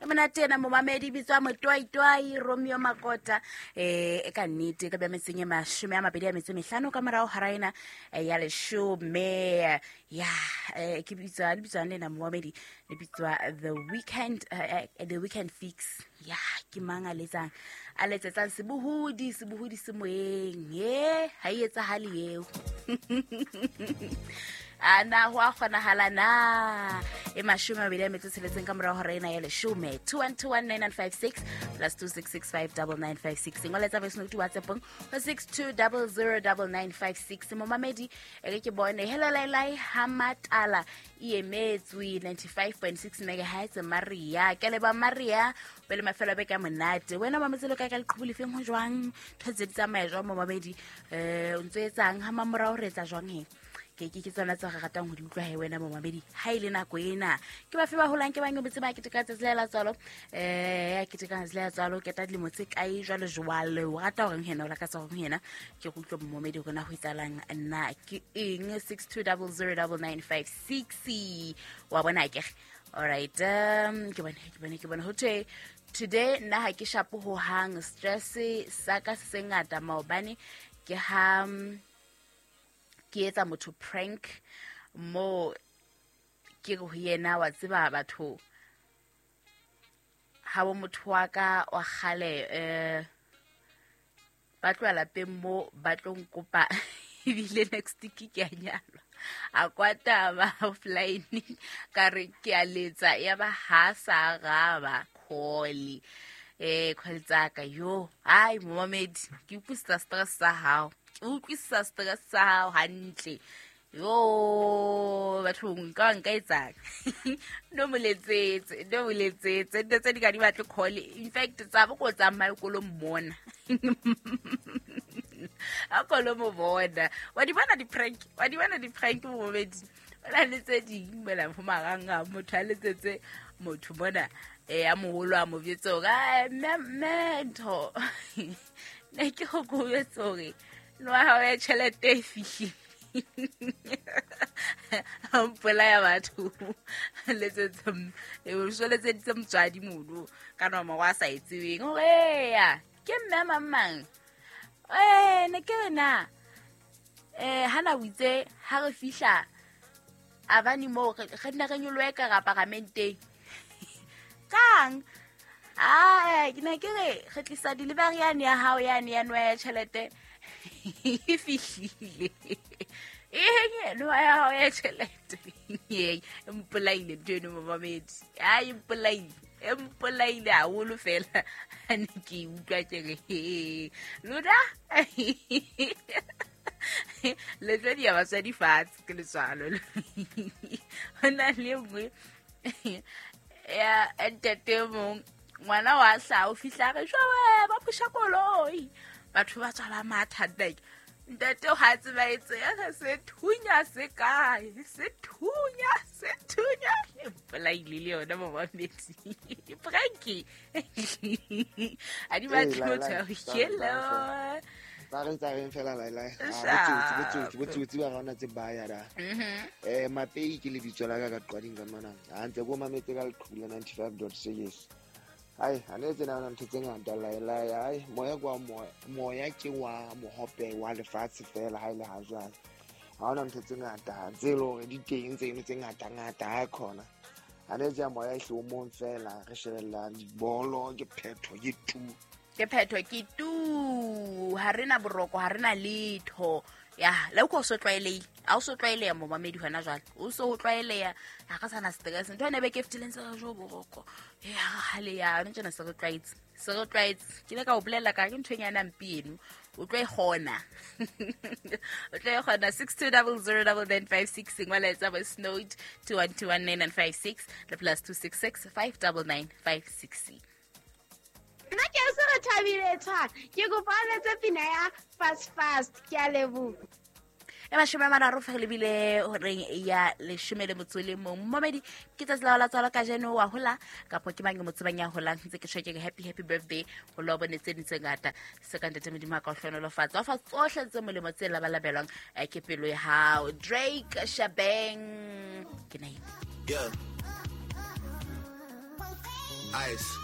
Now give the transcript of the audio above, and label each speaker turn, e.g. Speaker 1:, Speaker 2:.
Speaker 1: Monate ena momamedi, bitswa Motoitoi Romeo Makota. E ka nnete ka bja metseng e 25 ka morago hara ena ya 10. Ya, ke bitswa le bitswang le na momamedi, le bitswa The Weekend, The Weekend Fix. Ya, ke mang a letsang, a letsetsang sebohodi, sebohodi se moyeng. E ha e etsahale eo. A na ho a kgonahala na? E 26 ka morago hora ena ya 10. 2121956 plus 26659956. Ngoletsa voice note WhatsAppong ho 62009956. Momamedi, e re ke bone. Hello Lailai, ha Matala e emetswe 95.6 megahertz. Maria, ke leba Maria, pele mafelo a beke a monate. Wena mametse le kae ka leqhubu lefeng, ho jwang? Ntho tse di tsamaya jwang momamedi? O ntso etsang ha mamorao, re etsa jwang he? Ke tsona tse re ratang ho di utlwa he wena momamedi. Ha e le nako ena, ke bafe ba holang, ke bang botse ba keteka tsatsi la tswalo? Ya keteka tsatsi la tswalo, keta dilemo tse kae jwale jwale? O rata horeng hena, o lakatsa horeng hena? Ke go utlwa momamedi hore na ho etsahalang na ke eng. 62009956. Wa bona akere? Alright, ke bone, ke bone, ke bone ho thwe today nna ha ke shapo ho hang, stress sa ka se se ngata. Maobane ke ha ke etsa motho prank mo, ke re ho yena, wa tseba batho ha bo motho wa ka wa kgale, ba tloha lapeng mo ba tlo nkopa, ebile next week ke a nyalwa. A kwata ba offline, ka re ke a letsa, ya ba ha sa araba call, call tsaka. Yo, ai momamedi, ke utlwisisa stress sa hao, ke utlwisisa stress sa hao hantle. Yo bathong, ka nka etsang? No mo letsetse, no mo letsetse, ntho tse di ka di batle call. In fact, tsa bo ko tsamaye kolo mmona, a kolo mo bona. Wa di bona di-prank, wa di bona di-prank momamedi? O na le tse ding mona ho marang, motho a letsetse motho mona, a moholo, a mo jwetse hore, "Ai, mme, mme ntho ne ke go ko jwetse hore no wa hao ya tjhelete e fihlile." A mpolaya batho, letsetse so letseditse motswadi mono ka nomoro a sa e tsebeng, hore eya ke mme mang mang, ne ke re na hana o itse ha re fihla abane moo re nne re nyolohe ka ra paramenteng kang. Ai, ke ne ke re re tlisa delivery yane ya hao yane ya nwa ya tjhelete e fihlile. Eng nwa ya hao ya tjhelete? E mpolaile ntho eno momamedi. Ai, e mpolaile, e mpolaile haholo fela. Ha ne ke utlwa, ke re he lona le tlo di ya batswadi fatshe ke letswalo. Ho na le e nngwe ya ntate mong, ngwana wa hlaha, o fihla re jwawe ba phusha koloi, batho ba tswa ba matha. Like ntate ha tseba etse ya re se thunya se kae, se thunya, se thunya. E mpolaile le yona momamedi, prank a di batle motho a hello.
Speaker 2: Ba re tsa reng fela lailai.
Speaker 1: Sharp.
Speaker 2: Botsotsi, botsotsi ba rona tse baya da. Mapei ke lebitso la ka ka qwading ka mona. Ha ntse ko mametse ka leqhubu la 95.6. Ai, ha ne tsena na ntho tse ngata lailai. Ai, moya kwa moya, moya ke wa mohope wa lefatshe fela ha ile ha jwale. Ha hona ntho tse ngata tse le hore di teng tseno tse ngata ngata ha khona. Ha ne tsa moya e hlomong fela re shebella dibolo, ke phetho, ke tu.
Speaker 1: Ke phetho, ke tu. Ha re na boroko, ha re na letho. Ya le ko so tlwaelehile, ha o so tlwaeleha momamedi hona jwale, o so ho tlwaeleha, ha re sana stress. Ntho ene beke e fetileng se re jo boroko e ha le ya ntse se re tlwaetse, se re tlwaetse. Ke ile ka o bolella ka ke ntho e nyana mpe eno, o tlo e kgona, o tlo e kgona. 62009956, ngwala etsa voice note 2121956 le plus 266 59956.
Speaker 3: Nna ke se re thabile tshwana, ke kopa o letse pina ya Fast Fast. Ke a leboha.
Speaker 1: E 30 fa re lebile horeng ya 11. Momedi, ke tsatsi la ho la tswalo kajeno, wa hola kapo ke mang e mo tsebang ya holang? Ntse ke tjho, ke re happy, happy birthday ho lo bone tse ding tse ngata se ka ntate Modimo a ka o hlohonolofatsa, wa fa tsohle tse molemo tse labalabelwang, ke pelo ya hao. Drake Shabeng ke nine.
Speaker 4: Yeah. Ice.